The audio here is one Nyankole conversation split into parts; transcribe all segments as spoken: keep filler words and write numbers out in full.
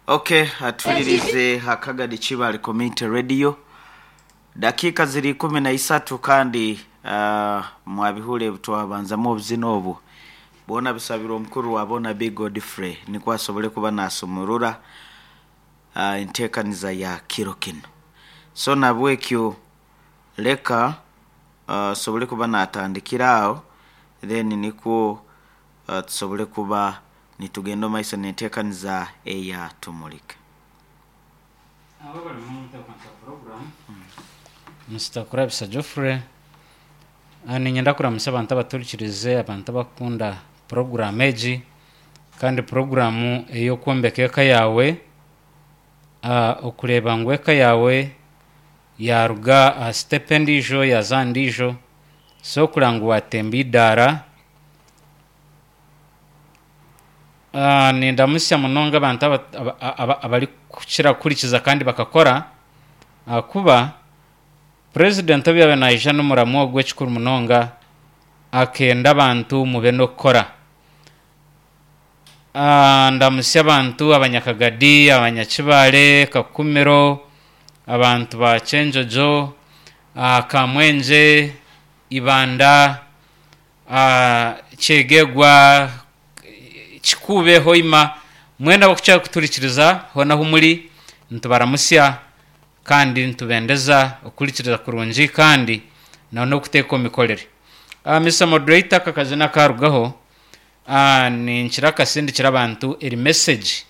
Okay, atulirize Hakagadi Kibale Community Radio. Dakika ziri ikumi na isatu kandi uh, mwabihule twabanzamu obuzina obu bwona bisabirwa omukuru wa bona B Godfrey nikwo asobole kuba nasumurura uh, enteekaniza ya kiro kino. So nabwekyo leka uh, sobole kuba natandikira aho then nikwo uh, tusobole kuba nitugenda omu maiso n'enteekaniza eya Tumulika. Abo bari mu nteekanika program Mister Kurabisa Geoffrey. Ah, niinyenda kuramusa abantu abaturikirize, abantu abakunda program egi kandi programu ey'okwombeka eka yaawe, ah, okureeba ngu eka yaawe yaruga aha step endiijo yaza aha ndiijo, so kureba ngu watemba eidaara. Ah, nindamusya munonga abantu aba- aba- aba- abarikukira kuhurikiza kandi bakakora, ahakuba president obu yaabaire naija n'omuramu ogu ekikuru munonga akenda abantu mube n'okukora. Ah, ndamusya abantu abanyakagadi, abanyakibale, Kakumiro, abantu ba Kyenjojo, ah, Kamwengye, Ibanda, ah, Kyegegwa, Kikuube, Hoima, mwena abakukira kuturikiriza hoona ahu muri nitubaramusya kandi nitubendeza okuhurikiriza kurungi kandi na n'okuteeka omu mikorere. Uh, Mister Moderator, aka kazina karugaho, uh, ninkira akasindikira abantu eri message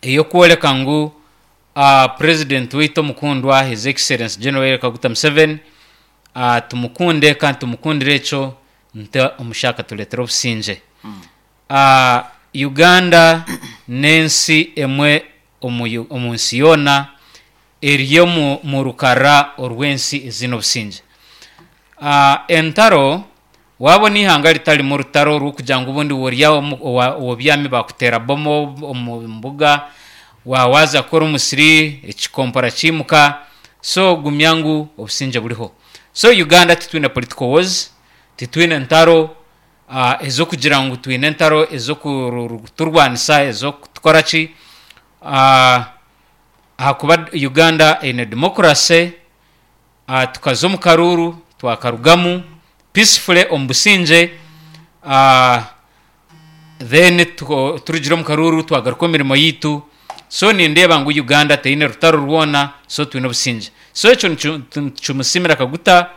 ey'okworeka ngu uh, president waitu omukundwa His Excellency General Yoweri Kaguta Museveni, uh, tumukunde kandi tumukundire ekyo nte omushaka tureetera obusingye. Uh, Uganda n'ensi emwe omu Yu- omu nsi yoona eri omu mu rukara orw'ensi eziine obusingye. Uh, entaro wabona ihanga ritarimu rutaro rw'okugira ngu obundi worya omu- owa- obyami bakuteera bomo omu mbuga, wawaza kukora omusiri ekikompora kiimuka, so gumya ngu obusingye buriho. So Uganda titwine political wars, titwine entaro uh, ez'okugira ngu twine entaro ez'okuturwanisa ez'okutukora ki, uh, ahakuba Uganda eine democracy, uh, tukaza omu karuuru twakarugamu peacefully omu busingye, uh, then tuko- turugire omu karuuru twagaruka omu mirimo yitu. So nindeeba ngu Uganda teine rutaro rwona, so twine obusingye. So ekyo nicu- nikimusiimira Kaguta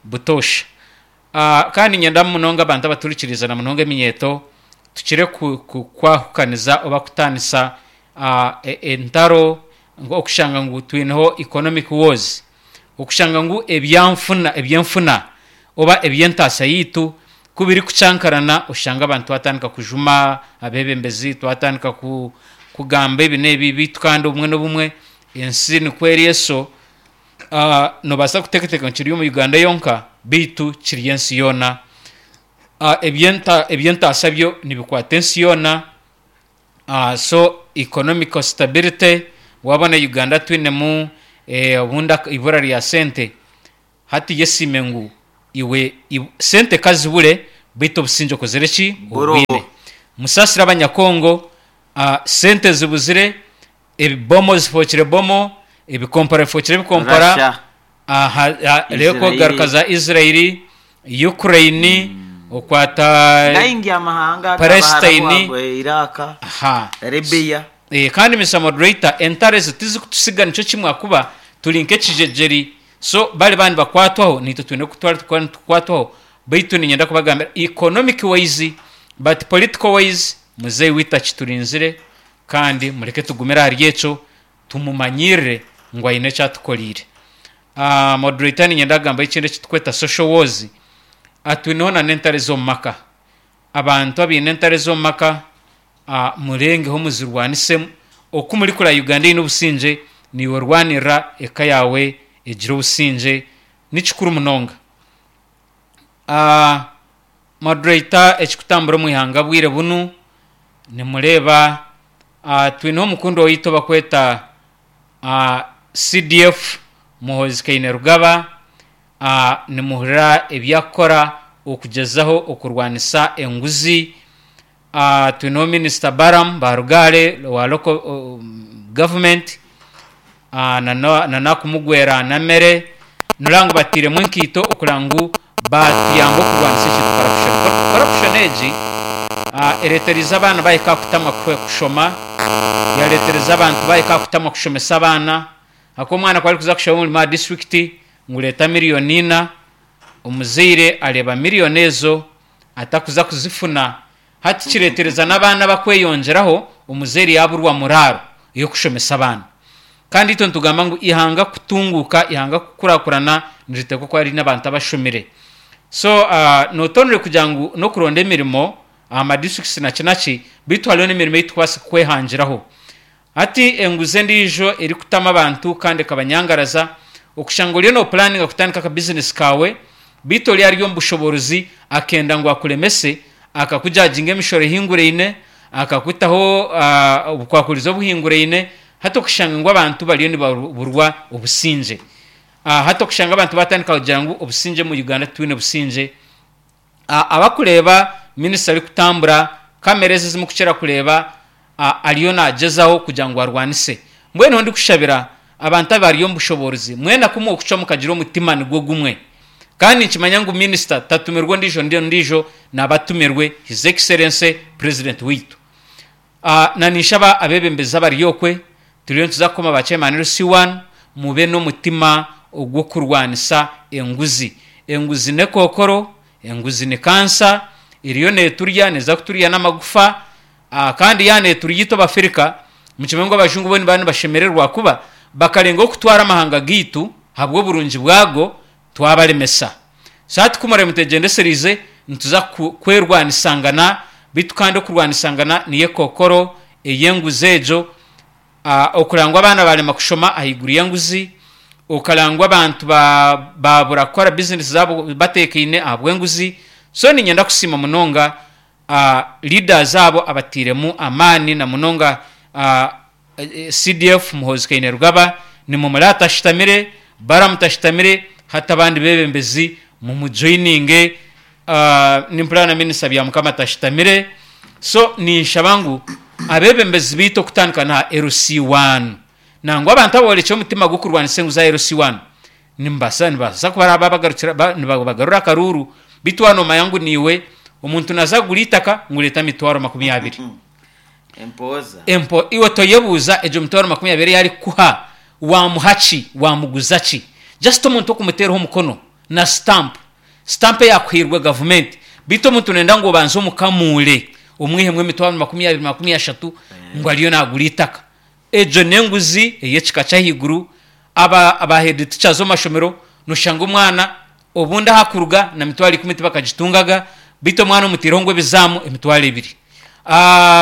butoosha. Uh, kandi nyenda munonga abantu abaturikiriza na munonga eminyeeto tukire ku- ku- kwahukaniza oba kutaanisa uh, e- entaro, okushanga ngu twineho economic wars, okushanga ngu ebyanfuna ebyenfuna oba eby'entaasa yitu ku birikucankarana oshanga abantu twatandika kujuma abeebembezi, twatandika ku, kugamba ebi n'ebi bitu, kandi obumwe n'obumwe ensi nikwo eri eso. uh, nobaasa kuteekateeka ngu kiri omu Uganda yonka, beitu kiri ensi yoona. Uh, ebyenta eby'entaasa byo nibikwata ensi yoona. Uh, so economical stability wabona Uganda twinemu eh, obundi ak- ibura rya sente, hati yesiime ngu iwe iw- sente kazibure beitu obusingye okozire ki? Buroho. Obwine. Musasire abanyakongo, uh, sente zibuzire, ebibomo zifookire bomo, ebikompora bifookire ebikompora. Russia, Aha, ah, rero Israeli. garuka za Israeli, Ukraine, okwata Gaingi amahanga Palestine. Abaharabu, Iraq, Aha. Libya. Eh, kandi Mister Moderator, entare ezo tizikutusiga nikyo kimwe akuba turi nk'ekijejeri, so bari bandi bakwatwaho nitwe twine kutwara tukaba nitukwatwaho, beitu niinyenda kubagambira economic wise but political wise muzeeyi waitu akiturinzire kandi mureke tugumire ahari ekyo tumumanyirire ngu aine eki atukoriire. Uh, moderator, niinyenda kugamba ekindi ekitukweta social wars. Atwineho na n'entare z'omu maka, abantu abaine entare z'omu maka, uh, murengeho muzirwanisemu. Oku muri kureba Uganda eine obusingye, niiwe rwanirira eka yaawe egire obusingye, ni kikuru munonga. Uh, moderator, ekikutambura omu ihanga bwire bunu nimureeba, uh, twineho omukundi waitu bakweta uh, C D F Muhoozi Kainerugaba, uh, nimuhurira ebyakukora okugezaho okurwanisa enguzi. uh, twineho minisita Baram Barugare wa local uh, government, uh, nana nana kumugwera namere nurangu batiremu enkiito okugira ngu batuyamba okurwanisa ekintu corruption. Corruption egi uh, eretereza abaana bahika kutamwa kushoma, yaretereza abantu bahika kutamwa kushomesa abaana. Ako omwana kwari kuza kushoma omurimo aha district ngureeta miliyoni ina, omuzaire areba miliyoni ezo atakuza kuzifuna. Hati kiretereza n'abaana bakweyongyeraho, omuzaire yaburwa muraro y'okushomesa abaana. Kandi itwe nitugamba ngu ihanga kutunguka, ihanga kukurakurana, niritekwa kuba riri n'abantu abashomire. So uh, notonere kugira ngu n'okuronda emirimo aha madistricts naki naki, beitu hariho n'emirimo ei tukubaasa kwehangiraho. Hati enguzi endiijo erikutama abantu kandi ekabanyangaraza, okushanga oriyo nopulaninga kutandika akabizinesi kawe, beitu ori ari omu bushoborozi akenda ngu akuremese, akakujaginga emishoro ehinguraine, akakutaho uh, obukwakurizo obuhinguraine. Hati okushanga ngu abantu bariyo nibaburwa obusingye. Uh, hati okushanga abantu batandika kugira ngu obusingye mu Uganda twine busingye. Uh, abakureeba minisita arikutambura, kamera ezi ezimukukira kureeba, uh, ariyo nagyezaho kugira ngu arwanise. Mbwenu ndikushabira abantu abari omu bushoborozi mwena kumwe okucwa mukagira omutima nigwo gumwe. Kandi nkimanya ngu minisita tatumirwe ondiijo ndiijo, nabatumirwe His Excellency President witu. Uh, na ninshaba abebembezi abari okwe, turiyo nituza kukoma ba chairman L C one, mube n'omutima ogw'okurwanisa enguzi. Enguzi n'ekookoro, enguzi ni kansa, eriyo neeturya, neeza kuturya n'amagufa, uh, kandi ya neeturya itwe Abafirika. Mukimanye ngu abajungu bo nibaba nibashemererwa kuba bakarenga okutwara amahanga gaitu habw'oburungi bwago, twabaremesa. So hati kumara mutegyendesereize, nituza kwerwanisangana, beitu kandi okurwanisangana niyo ekookoro ey'enguzi egyo. Uh, okurangwa abaana barema kushoma ahaiguru y'enguzi, okarangwa abantu babura kukora bizinesi zaabo bateekaine ahabw'enguzi. So niinyenda kusiima munonga uh, leaders abo abatiiremu amaani, na munonga uh, C D F Muhoozi Kainerugaba, nimumurata tashitamire, baramutashitamire, hati abandi bebembezi mumujoininge, uh, nimpurira na minisita Byamukama tashitamire. So ninshaba ngu abebembezi baitu okutandika na L C one, nangwa abantu aborekye omutima gw'okurwanisa enguzi za L C one, nimbasa nibasa kuba babagarukira nibagarura akaruru. Beitu wanomanya ngu niiwe omuntu naza kugura itaka ngureeta emitwaro makumi abiri. Empoza. Empo iwe toyebuuza egyo mitwaro makumi abiri yarikuha wamuha ki, wamuguza ki? Just omuntu okumuteeraho omukono na stamp, stamp eyakuhairwe gavumenti. Beitu omuntu nenda ngu obanze omukamuure omwihemu emitwaro makumi abiri makumi ashatu ngu ariyo nagura itaka. Egyo n'enguzi ey'ekika ky'ahaiguru. Aba aba head teachers omu mashomero noshanga omwana obundi ahakuruga na mitwaro ikumi tibakagitungaga, beitu omwana omuteireho ngu ebizaamu emitwaro ebiri. Uh,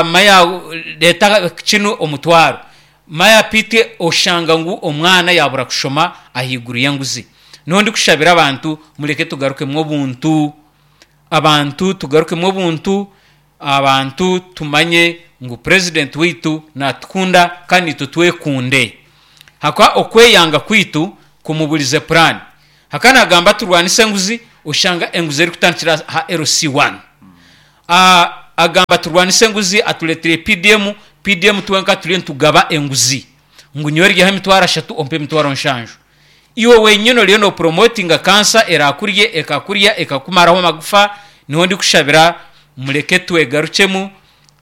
maya leta kinu omutwaro maya pite, oshanga ngu omwana yabura kushoma ahaiguru y'enguzi. Niho ndikushabira abantu mureke tugarukemu obuntu, abantu tugarukemu obuntu, abantu tumanye ngu president witu natukunda kandi itwe twekunde. Haka okweyanga kwitu kumuburize plan. Haka nagamba turwanise enguzi, oshanga enguzi erikutandikira ha L C one. Uh, agamba turwanise enguzi, atuletire P D M, P D M twenka turiyo nitugaba enguzi ngu nyowe ryaho emitwaro ashatu ompe emitwaro nshanju. Iwe wenyine oriyo nopromotinga kansa erakurye ekakurya ekakumaraho amagufa. Niho ndikushabira mureke twegarukyemu,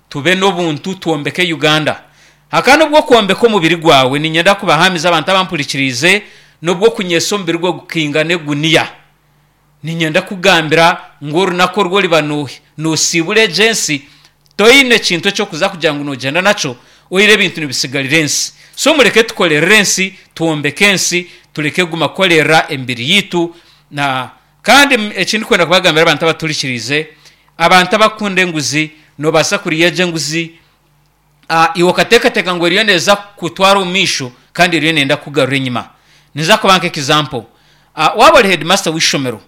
tube n'obuntu, twombeke Uganda. Haka nubwo kwombeka omubiri gwawe, niinyenda kubahamiza abantu abampurikiriize, nubwo kunyesa omubiri gwe gukinga n'eguniya. Niinyenda kugambira ngu orunaku orwo oriba noosiibura egyo ensi, toine kintu ekyokuza kugira ngu nogyenda nakyo, oire ebintu nibisigarira ensi. So mureke tukorerere ensi, twombeke ensi, tureke kuguma kukorera emibiri yitu. Na kandi ekindikwenda kubagambira abantu abaturikiriize, abantu abakunda enguzi, nobaasa kuriya egyo enguzi, uh, iwe okateekateeka ngu eriyo neeza kutwara omu maisho kandi eriyo nenda kugarura enyima. Niza kuba nka example, uh, waaba ori headmaster w'eishomero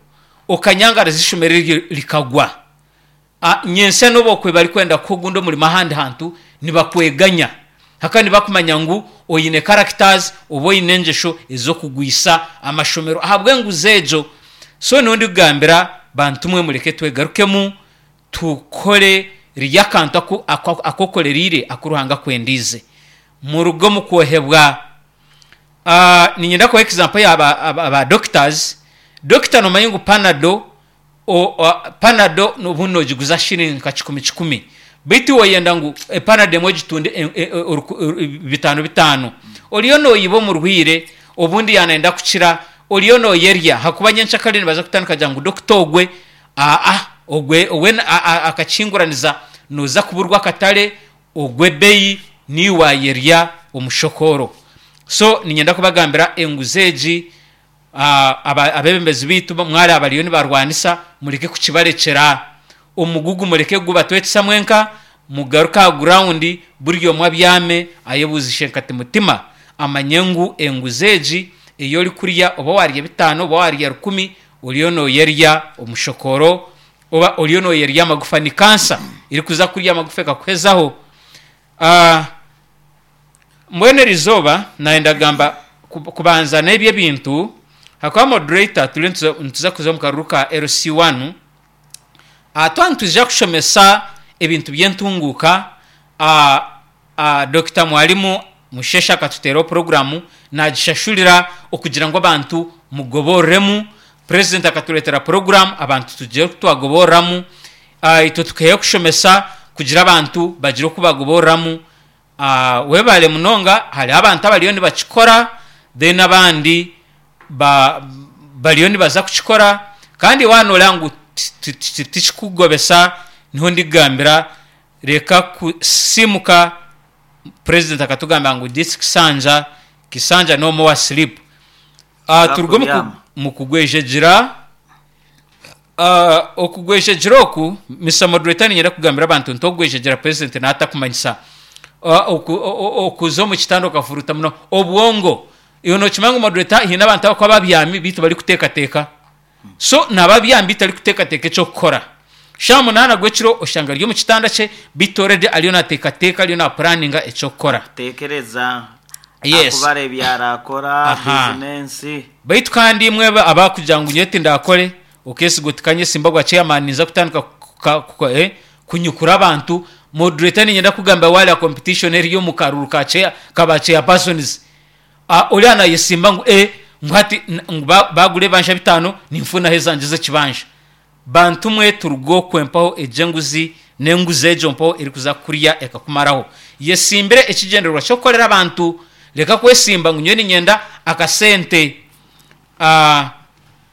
okanyangaraza ishomero eryo rikagwa, uh, nyentsya n'obu okwe barikwenda kuha ogundi omurimo ahandi hantu nibakweganya. Haka nibakumanya ngu oine characters oba oine engyesho ez'okugwisa amashomero ahabw'enguzi egyo. So niho ndikugambira bantu mwe mureke twegarukemu, tukore Rya akantu aku- aku- akokoreriire aku Ruhanga akwendiize. Muruge omu kwohebwa. Ah, niinyenda kuha example y'aba aba, aba doctors. Doctor nomanya ngu panado o, o, panado obundi nogiguza shilingi nka kikumi kikumi, beitu iwe oyenda ngu epanado emwe ogitunde e- e- e- oruku- oru- bitaano bitaano. Oriyo noyiba omurwaire, obundi yanayenda kukira, oriyo noyerya hakuba nyenkyakare nibaza kutandika kugira ngu doctor ogwe aa ogwe owe a- a- akakinguraniza, noza kuburwa akatare, ogwe ebeeyi, niiwe wayerya omushokoro. So niinyenda kubagambira enguzi egi, ah, aba- abeebembezi baitu mwari abariyo nibarwanisa, mureke kukibarekyera omugugu, mureke gubatwekisa mwenka, mugaruke aha ground, buri omwe abyame ayebuuzishe nkati mutima, amanye ngu enguzi egi ei orikurya, oba warya bitaano oba warya rukumi, oriyo noyerya omushokoro oba oriyo noyerya amagufa. Ni kansa erikuza kurya amagufa ekakuhezaho. Ah, mbwenu erizooba nayenda kugamba kub- kubanza n'ebyo ebintu hakuba moderator turiyo nituza- nituza kuza omu karuru ka L C one. uh, twaba nitwija kushomesa ebintu by'entunguuka. uh, uh, Doctor Mwalimu Musheshe akatuteeraho poroguramu nagishashurira okugira ngu abantu mugoboreremu. President akatureetera poroguramu, abantu tugire oku twagoboreramu. uh, itwe tukeeyo kushomesa kugira abantu bagire oku bagoboreramu. uh, webale munonga. Hariho abantu abariyo nibakikora, then abandi ba, bariyo nibaza kukikora. Kandi wanoreba ngu ti- ti- tikikugobesa, niho ndigambira reka kusimuka. President akatugamba ngu this kisanja, kisanja no more sleep. uh, turuge omu ku- Kubyama. Mu kugwejegyera, uh, okugwejegyera oku, Mister Moderator, ninyenda kugambira abantu nti okugwejegyera president naatakumanyisa uh, oku- o- o- okuza omu kitanda okafuruta muno obwongo. Iwe nokimanya ngu, moderator, hiine abantu abakuba babyami bitu barikuteekateeka. So naba byami bitu arikuteekateeka ekyokukora. Shaaha munaana gw'ekiro oshanga ari omu kitanda kye, bitu already ariyo nateekateeka, ariyo napuraninga ekyokukora. Tekereza. Yes. Akubara ebyarakora. Aha. Bizinensi. Baitu kandi imwe abakugira ngu nyowe tindakore, okesiga oti kanye simba gwa chairman, ninza kutandika kuka- kuka- eh, kunyukura abantu. Moderator, ninyenda kugamba wali competition eriyo mu karuru ka chair, kaba chairpersons. Ah, ori anayesimba ngu eh, ngu hati n- ngu ba- bagura ebanja bitaano, ninfunaho ezanje z'ekibanja. Bantu mwe, turuge okwempaho egyo enguzi n'enguzi egyo mpaho erikuza kurya ekakumaraho. Yesimbire ekigyendererwa ky'okukorera abantu, reka kwesimba ngu nyowe ninyenda akasente. Ah,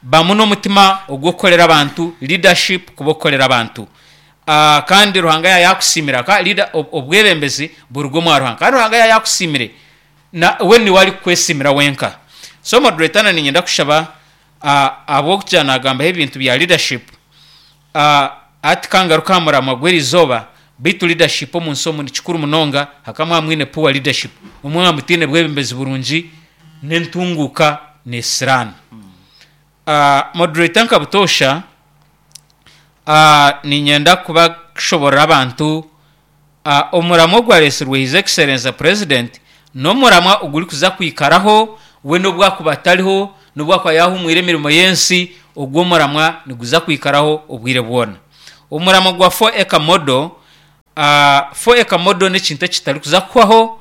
bamu n'omutima ogw'okukorera abantu, leadership kuba okukorera abantu. Ah, kandi Ruhanga yayakusimira ka leader, ob- obwebembezi buruga omwa Ruhanga, kandi Ruhanga yayakusimire na we niwe ari kukwesimira wenka. So moderator, na ninyenda kushaba, ah, ahabw'okugira nagambaho ebintu bya leadership, uh, ati kangaruka aha muramwa gw'erizooba. Beitu leadership omu nsi omu ni kikuru munonga. Hakaba mwine poor leadership, omwe mutiine bwebembezi burungi, n'entunguuka nesiraana. uh, moderator, nka butoosha, uh, ninyenda kuba kushoborera abantu uh, omuramwa ogwaresirwe His Excellence President n'omuramwa ogurikuza kwikaraho we n'obwakuba atariho, n'obwakuba yahumwire emirimo y'ensi, ogwo omuramwa niguza kwikaraho obwire bwona, omuramwa gwa four acre model. uh, four acre model n'ekintu ekitarikuza kuhwaho,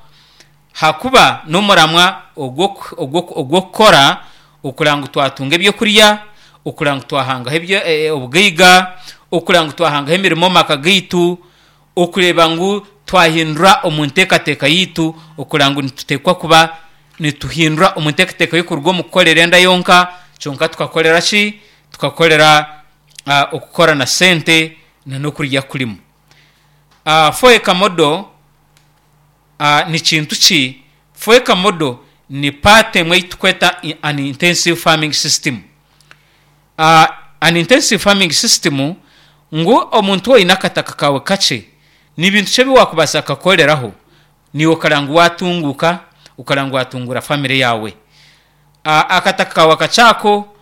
hakuba n'omuramwa ogw'okukora okureba ngu twatunga ebyokurya, okureba ngu twahangaho ebyo- eh, obugaiga, okureba ngu twahangaho emirimo omu maka gaitu, okureba ngu twahindura omu nteekateeka yitu, okureba ngu nituteekwa kuba nituhindura omu nteekateeka y'okuruga omu kukorera enda yonka kyonka, tukakorera ki? Tukakorera uh, okukora na sente na n'okurya kurimu. uh, four acre model uh, ni kintu ki? Four acre model ni part emwe ei tukweta i- an intensive farming system. uh, an intensive farming system ngu omuntu oine akataka kawe kakye, ni bintu ki ebi wakubaasa kukakoreraho niiwe okareba ngu watunguuka, okareba ngu watungura famire yawe? uh, akataka kawe akakyako,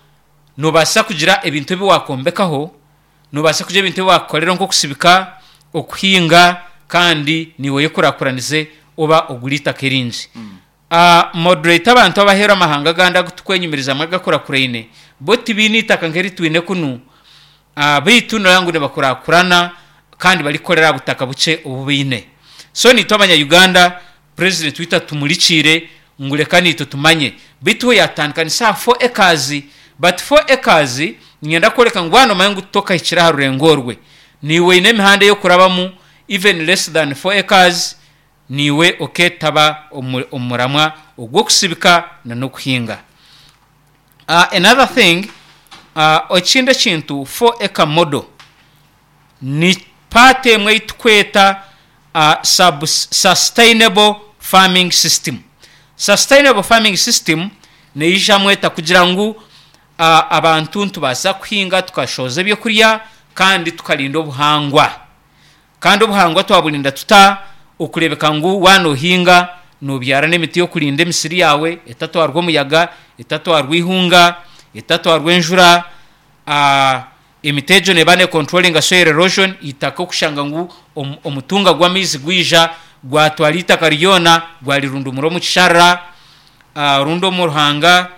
nobaasa kugira ebintu ebi wakombekaho, nobaasa kugira ebintu ebi wakukorera nk'okusibika, okuhinga, kandi niiwe oyekurakuranize oba ogura itaka eringi. uh, moderator, abantu abaheera amahanga agandi agu tukwenyumirizamu agakurakuraine, bo tibiine itaka nk'eri twine kunu. uh, beitu noreba ngu nibakurakurana. Kandi barikukorera aha butaka bukye obu baine. So nitwe abanya-Uganda, president waitu atumurikiire ngu reka naitwe tumanye. Beitu we yatandika ni aha four acres, but four acres niinyenda kworeka ngu waaba noomanya ngu tokahikire aha rurengo orwe, naiwe oine emihanda ey'okurabamu even less than four acres, naiwe okeetaba omu omu muramwa ogw'okusibika n'okuhinga. Another thing, ekindi ekintu four acre model ni part emwe ei turikweta sub sustainable farming system. Sustainable farming system neijamu eta kugira ngu abantu nitubaasa kuhinga tukashohoza ebyokurya kandi tukarinda obuhangwa. Kandi obuhangwa twaburinda tuta? Okureebeka ngu waaba noohinga noobyara n'emiti y'okurinda emisiri yaawe etatwarwa omuyaga, etatwarwa eihunga, etatwarwa enjura. Emiti egyo neeba neekonturoringa soil erosion, eitaka okushanga ngu omutunga gw'amaizi gwija gwatwara eitaka ryona gwarirundumura omu kisharara rundi omu ruhanga,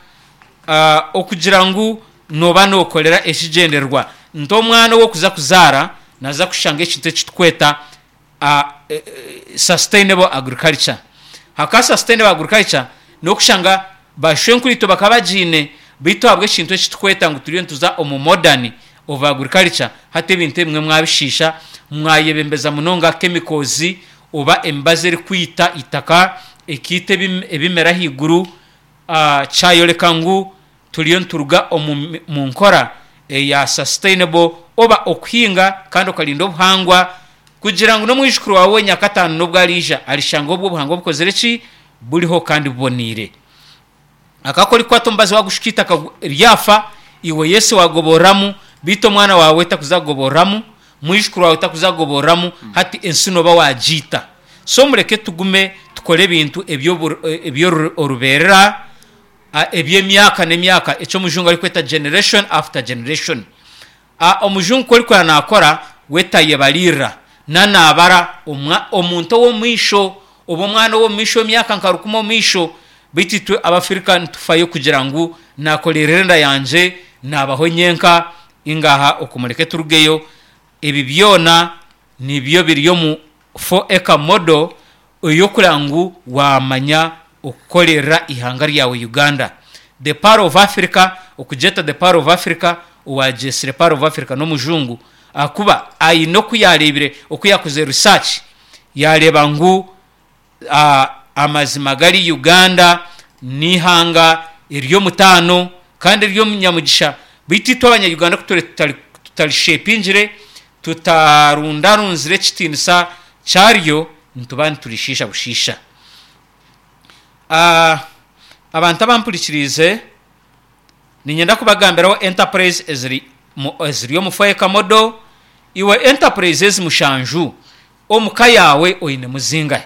okugira ngu nooba nookorera ekigyendererwa nti omwana ou orikuza kuzaara naaza kushanga ekintu eki turikweta sustainable agriculture. Hakaba sustainable agriculture n'okushanga bashwenkuriitwe bakaba bagiine beitu ahabw'ekintu eki turikweta ngu turiyo nituza omu modern of agriculture, hati ebintu ebimwe mwabishiisha, mwayebembeza munonga chemicals oba emibazi erikwita eitaka, ekaita ebimera ahaiguru, kyayoreka ngu turiyo nituruga omu nkora eya sustainable oba okuhinga kandi okarinda obuhangwa kugira ngu n'omwijukuru waawe nyakataano n'obu ariija arishanga obwo obuhangwa bukozire ki? Buriho kandi buboneire. Ahakuba ku orikukwata omubazi waagushuka eitaka ryafa, iwe yes waagoboreramu beitu omwana waawe takuza kugoboreramu, mwijukuru waawe takuza kugoboreramu, hati ensi nooba waagiita. So mureke tugume tukore ebintu eby'orubeerera, eby'emyaka n'emyaka, eki omujungu arikweta generation after generation. Omujungu ku orikureeba naakora, we tayebariirira, nanaabara omuntu ow'omumaisho oba omwana ow'omumaisho emyaka nka rukumi omumaisho, beitu itwe Abafirika nitufayo kugira ngu naakoreerera enda yangye, naabaho nyenka, ingaha okwo mureke turugeyo. Ebi byona nibyo biri omu four acre model ey'okureba ngu waamanya okukoreerera eihanga ryawe Uganda. The Pearl of Africa, okugyeta the Pearl of Africa, owaagyetsire Pearl of Africa n'omujungu ahakuba aine oku yaareebire, oku yaakozire research yaareeba ngu amazima gari Uganda n'eihanga ery'omutaano kandi ery'omunyamugisha beitu itwe abanya-Uganda ku tutarishepingire, tutarundarunzire ekitiinisa kyaryo, nituba niturishiisha bushiisha. Abantu abampurikiriize, niinyenda kubagambiraho enterprise eziri eziri omu four acre model. Iwe enterprise ezi mushanju omu ka yaawe oinemu zingahi?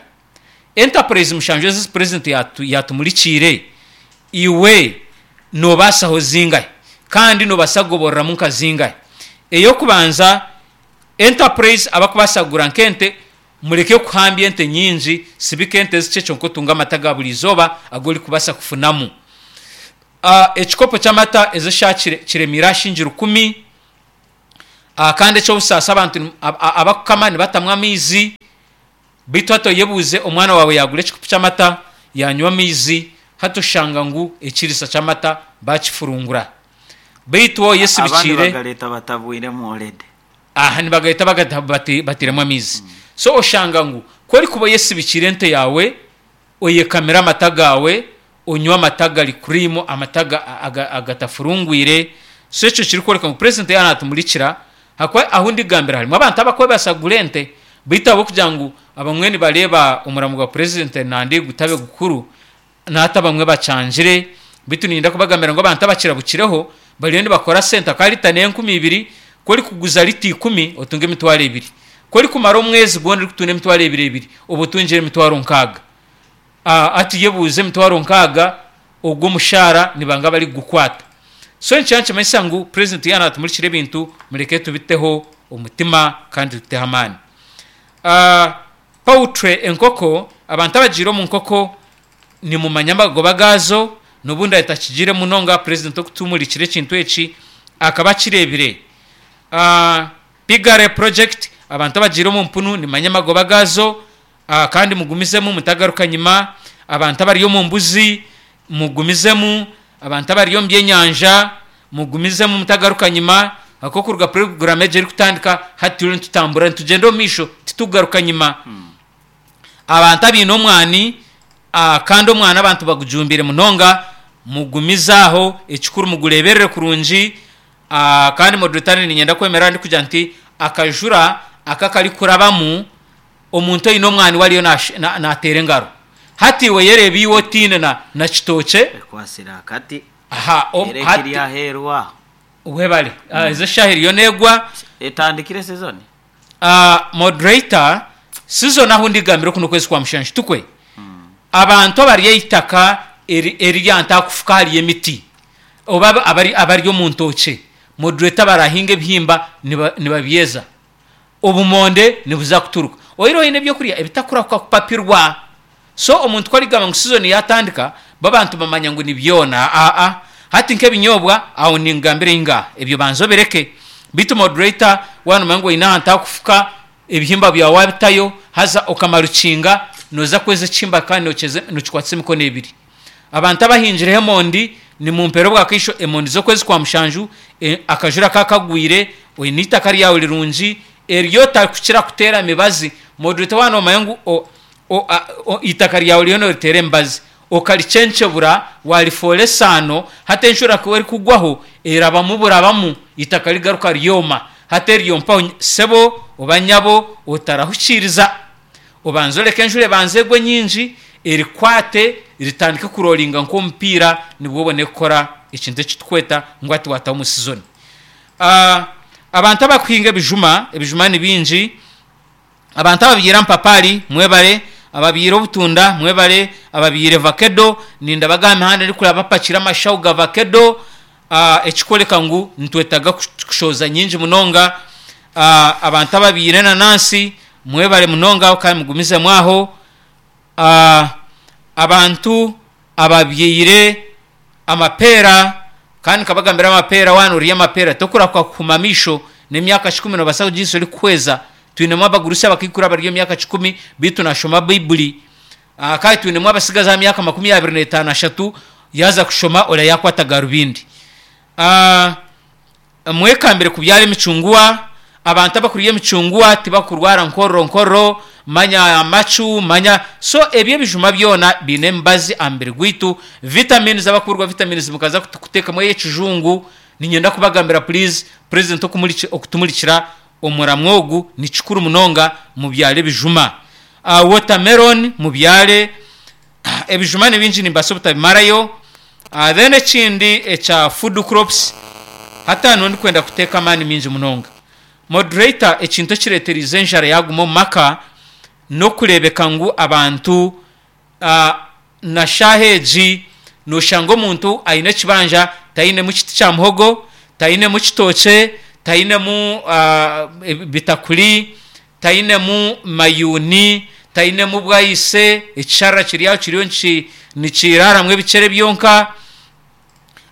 Enterprise mushanju ezi purezidenti yaatumurikiire, iwe noobaasaho zingahi? Kandi noobaasa kugoboreramu nka zingahi? Ey'okubanza, enterprise abarikubaasa kugura nk'ente, mureke kuhambya ente nyingi, sibika ente zikye kyonka otunge amata ga buri izooba agu orikubaasa kufunamu. Ekikopo ky'amata ezi eshaaha kiremeire aha shilingi rukumi, kandi eky'obusaasi abantu abakukama nibatamu amaizi, beitu hati oyebuuze omwana waawe yaagura ekikopo ky'amata yaanywa amaizi, hati oshanga ngu ekiriisa ky'amata baakifurungura. Beitu waaba Abandi oyesibikiire. Bagareeta batabwiremu already. Aha nibagareeta batairemu amaizi. So oshanga ngu ku orikuba oyesibikiire ente yaawe, oyekamire amata gaawe, onywe amata gari cream, amata agatafurungwire, so ekyo kirikworeka ngu purezidenti yaaba naatumurikira, ahakuba ahu ndigambira harimu abantu abarikwebaasa kugura ente, beitu ahabw'okugira ngu abamwe nibareeba omurimo gwa purezidenti nandi gutabe gukuru, nahati abamwe bakyangire, beitu niinyenda kubagambira ngu abantu abakirabukireho bariyo nibakora sente ahakuba lita n'enkumi ibiri, ku orikuguza lita ikumi otunga emitwaro ebiri. Ku orikumara omwezi gwona orikutunda emitwaro ebiri ebiri, oba otungire emitwaro nkaaga. Hati yebuuze emitwaro nkaaga ogwo omushaara nibanga abarikugukwata? So nikyo nikimanyisa ngu purezidenti yaaba naatumurikira ebintu mureke tubiteho omutima kandi tubiteho amaani. Poultry enkoko, abantu abagiire omu nkoko nimumanya amagoba gaazo, n'obu ndaabe ntakigiire munonga, purezidenti okutumurikira ekintu eki akaba akireebire. Piggery project, Abantu abagiire omu mpunu nimanya amagoba gaazo, ah, kandi mugumizemu mutagaruka nyima. Abantu abari omu mbuzi mugumizemu, abantu abari omu byenyanja mugumizemu mutagaruka nyima. Akokuruga program egi erikutandika hati turiyo nitutambura nitugyenda omu maisho, titukugaruka nyima. Abantu abaine omwani, ah, kandi omwani abantu bagujumbire munonga, mugumize aho, ekikuru mugureberere kurungi. ah, Kandi moderator niinyenda kwemera ndikugira nti akajura aka karikurabamu omuntu oine omwani we ariyo nash- na- nateera engaro. Hati iwe yereeba iwe otiine na, na kitookye. Ekwasire akati. Aha, om- Era hati ekiri aheerwa. webale. Ah, ezo eshaaha eriyo neegwa. Etandikire season. uh, moderator, season ahu ndigambira oku n'okwezi kwa mushanju tukwe. Abantu abari eitaka eri- erya ntakufuka hariyo emiti oba aba- abari, abari omu ntookye, moderator, barahinga ebihimba niba- nibabyeza, obumonde nibuza kuturuka oire oine ebyokurya ebitakurahuka kupapirwa. So omuntu ku arigamba ngu season yatandika, babantu bamanya ngu ni byona. Aa, hati nk'ebinyobwa aho ningambira inga ebyo banza obireke. Bitu moderator, wanomanya ngu oine ahantu hakufuka, ebihimba byawe wabitayo haza okamara ukinga, noza kweza ekihimba kandi nokyeza nokikwatisa emikono ebiri. Abantu abahingireho emondi nimumpera obwakaisho emondi z'okwezi kwa mushanju, e, akajura kakagwire, oine itaka ryawe rirungi eryo otakukira kuteera mibazi. Moderator, wanomanya ngu o- o- a- o- itaka ryawe ryo noriteera emibazi okaricencebura warifoora esaano, hati enjura ku erikugwaho erabamu burabamu, itaka rigaruka ryoma. Hati eryo mpaho sebo oba nyabo otarahukiiriza, obanze oreke enjura ebanze egwe nyingi erikwate ritandike kurolinga nk'omupiira, nibwo obone kukora ekintu ekitukweta ngu hati wataho omu season. Ah, abantu abakuhinga ebijuma, ebijuma ni bingi. Abantu ababyire ampapari mwebale, ababyire obutunda mwebale, ababyire vakedo nindabaga aha mihanda ndikuraba bapakire amashaho ga vakedo, ah, ekikoreka ngu nitwetaaga kush- kushoza nyingi munonga. Ah, abantu ababyire enanansi mwebale munonga kandi mugumizemu aho. Ah, abantu ababyire amapeera, kandi nkabagambira amapeera, wana orya amapeera tokurahuka kuhuma amaisho, n'emyaka kikumi nobaasa kugiisa orikuhweza. Twinemu abagurusi abakaikuru abari omu myaka kikumi bitu nashoma Baibuli. Ah, kandi twinemu abasigazi aha myaka makumi abiri n'etaano ashatu yaza kushoma ora yakwata garubindi. Ah, mwekambire kubyara emicunguwa. Abantu abakurya emicunguwa tibakurwara nkorro nkorro, manya amacu manya. So ebyo ebijuma byona biine emibazi aha mubiri gwaitu, vitamins. Abakurwa vitamins mukaza kutu- kuteekamu ey'ekijungu, niinyenda kubagambira please, president okumuriki- okutumurikira omuramwa ogu ni kikuru munonga, mubyare ebijuma. uh, watermelon mubyare. Ebijuma ni bingi, nimbaasa obutabimarayo. uh, then ekindi ekya food crops, hati hano ndikwenda kuteeka amaani mingi munonga. Moderator, ekintu ekireeterize enjara yaguma omu maka n'okureebeka ngu abantu, uh, na shaaha egi noshanga omuntu aine ekibanja tainemu kiti kya muhogo, tainemu kitookye, tainemu uh, bitakuri, tainemu mayuni, tainemu bwayise, ekisharara kiri aho kiriyo niki- nikiraramu ebikyere byonka.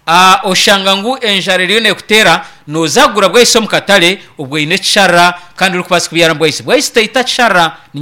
Ah, oshanga ngu enjara eriyo nekuteera noza kugura bwayise omu katare obwo oine ekisharara kandi orikubaasa kubyara bwayise. Bwayise teita kisharara.